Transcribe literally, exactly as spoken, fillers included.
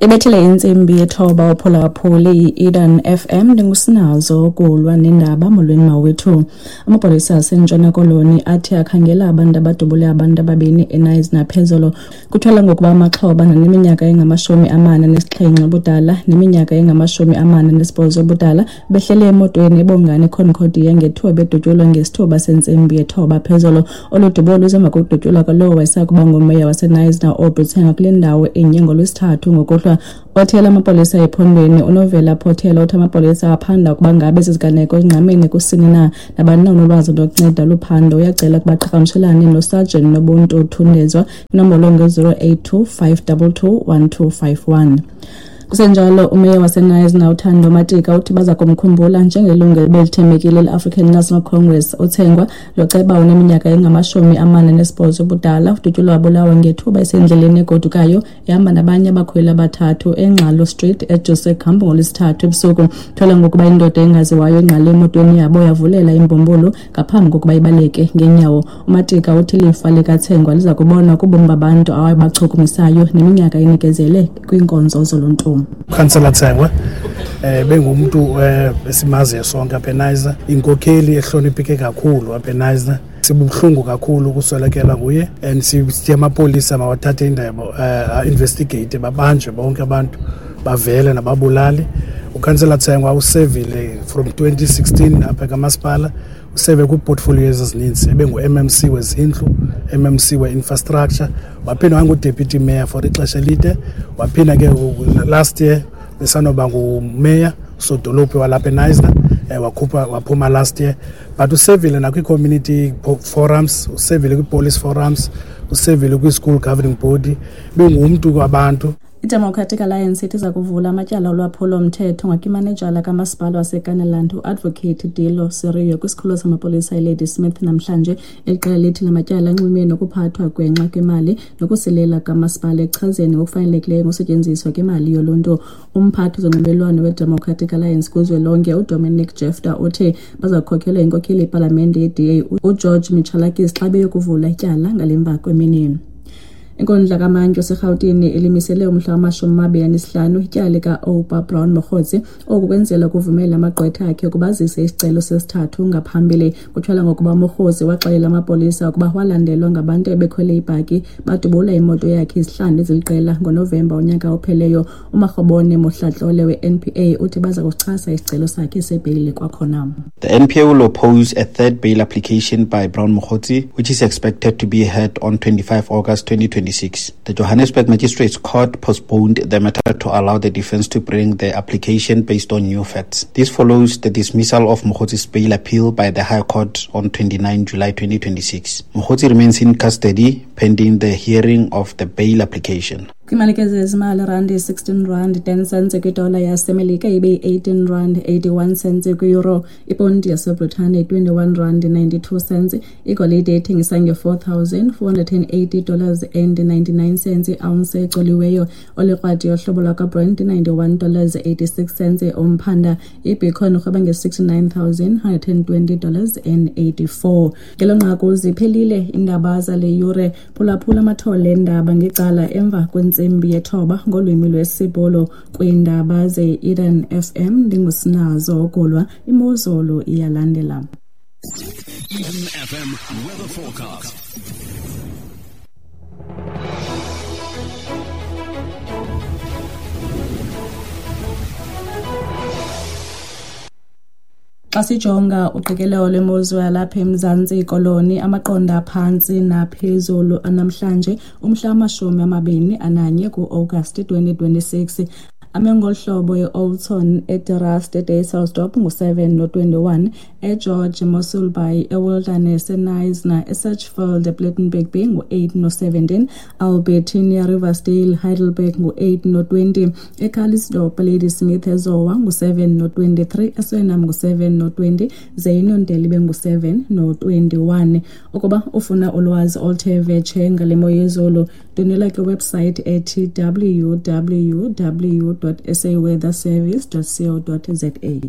Ibethile intsimbi yethoba uphulaphuli i-Eden F M ndingusinazo kulwa nendaba. Molweni mawethu. Amapolisa aseNtshona Koloni athi akhangela abantu abadubule abantu ababini eNaisna phezolo. Kuthwala ngokuba amaxhoba naneminyaka engamashumi amane nesixhenxe ubudala neminyaka engamashumi amane nesibhozo ubudala behlele emotweni eBongani Concordia ngethuba bedutyulwa ngesithuba sentsimbi yethoba phezolo. Olu dubulo luza kudutyulwa kwalowo wayesakuba ngumeya waseNaisna Aubrey Tsengwa kule ndawo enye ngoLwesithathu ngokuhlwa. Othela amapolisa ephondweni uNovela Pothela uthi amapolisa aphanda ukuba ngabe ziziganeko ezingqamene kusini na. Nabani na onolwazi lokunceda luphando uyacela ukuba qhagamshelane noSergeant Nobuntu Thundezwa inombolo nge-zero eight two five double two one two five one. Kusenjalo umeya waseNaisna uThando Matika uthi baza kumkhumbula njengelungu ebelithembekile le-African National Congress. Uthengwa lo ceba uneminyaka engamashumi amane nesibhozo ubudala udutyulwa wabulawa ngethuba esendleleni egodukayo ehamba nabanye abakhweli abathathu eNgxalo Street eJose Kamp ngoLwesithathu ebusuku. Thola ngokuba indoda engaziwayo ingqale emotweni yabo yavulela imbumbulu ngaphambi kokuba ibaleke ngenyawo. UMatika uthi ilifa likaThengwa liza kubonwa kubomi babantu abachukumisayo neminyaka enikezele kwiinkonzo zoluntu. Councillor Tsengwa eh bengumuntu esimaziyo sonke apha eNaisna, inkokheli ehlonipheke kakhulu apha eNaisna. Sibuhlungu kakhulu ukuswelekelwa nguye and sithi amapolisa mawathathe indaba, investigate, babanjwe bonke abantu bavele nababulali. UCouncillor Tsengwa usevile from twenty sixteen apha kamasipala, useve kwi-portfolio ezininzi, ebengu-M M C wezindlu, M M C we-infrastructure, waphinda wangu-deputy mayor for ixesha elide, waphinda ke last year besanoba ngumeya sodolophu walapha eNaisna, wakhupha waphuma last year. But usevile nakwi-community forums, usevile kwi-police forums, usevile kwi-school governing body, bengumntu kwabantu. I-Democratic Alliance ithi iza kuvula amatyala olwaphulo-mthetho ngakimanejala kamasipala waseKanaland uAdvocate Dilo Serio kwisikhululo samapolisa eLadysmith namhlanje. Eli qela lithi la matyala anxulumene nokuphathwa gwenxa kwemali nokusilela kamasipala ekuchazeni ngokufanelekileyo ngokusetyenziswa kwemali yoluntu. Umphathi wezonxibelelwano weDemocratic Alliance kuzwelonke uDominic Jefter uthi baza kukhokelwa yinkokheli yepalamente ye-D A uGeorge Michalakis xa beyokuvula ityala ngale mva kwemini. Inkundla kaMantyi oseRhawutini ilimisele umhla wamashumi amabini anesihlanu ityala lika-Oupa Brown Mogotsi. Oku kwenzela ukuvumela amagqwetha akhe ukuba azise isicelo sesithathu ngaphambili. Kutyholwa ngokuba uMogotsi waxelela amapolisa ukuba walandelwa ngabantu ebekhwele ibhaki badubula imoto yakhe izihlandlo eziliqela ngoNovemba unyaka opheleyo. UMarhobone Mohlatlole we-N P A uthi baza kusichasa isicelo sakhe sebheyile kwakhona. The N P A will oppose a third bail application by Brown Mogotsi, which is expected to be heard on twenty-fifth August twenty twenty-six. The Johannesburg Magistrates Court postponed the matter to allow the defense to bring the application based on new facts. This follows the dismissal of Mogotsi's bail appeal by the High Court on twenty-ninth July twenty twenty-six. Mogotsi remains in custody pending the hearing of the bail application. Kwimali ke zezimali, randi sixteen rand ten cents kwidola yaseMelika ibe eighteen rand eighty-one cents kwi-euro, iponti yaseBritane twenty-one rand ninety-two cents, igolide ethengisa nge-four thousand four hundred and eighty dollars and ninety-nine cents i-ounce ecoliweyo, olikrwadi yohlobo lwakwaBrent ninety-one dollars eighty-six cents umphanda, ibitcoin urhweba nge-sixty-nine thousand one hundred and twenty dollars and eighty-four. Ngelo nqaku ziphelile iindaba zale yure. Phulaphula amathole endaba ngecala emva kwentsimbi yethoba ngolwimi lwesiBhulu kwiindaba ze-Eden F M. Ndingusinazo Ogulwa, imozulu iyalandela. Eden F M weather forecast. Xa sijonga uqikelelo lwemozulu yalapha eMzantsi Koloni, amaqondo aphantsi naphezulu anamhlanje umhla wamashumi amabini ananye ku-Agasti twenty twenty-six. Ame ngolu hlobo e-Oudtshoorn, eDerust, eDysselsdorp ngu-seven no-twenty-one, eGeorge, eMossel Bay, eWilderness, eKnysna, eSearchfield, ePlettenberg Bay ngu-eight no-seventeen, Albertinia, Riversdale, Heidelberg ngu-eight no-twenty, eCalitzdorp, Ladysmith, eZowa ngu-seven no-twenty-three, eSuriname ngu-seven no-twenty, ze iNondeli ibe ngu-seven no-twenty-one. Ukuba ufuna ulwazi oluthe vetshe ngale mo yezulu, ndwendwela kwiwebsite ethi w w w dot s a weather service dot co dot z a.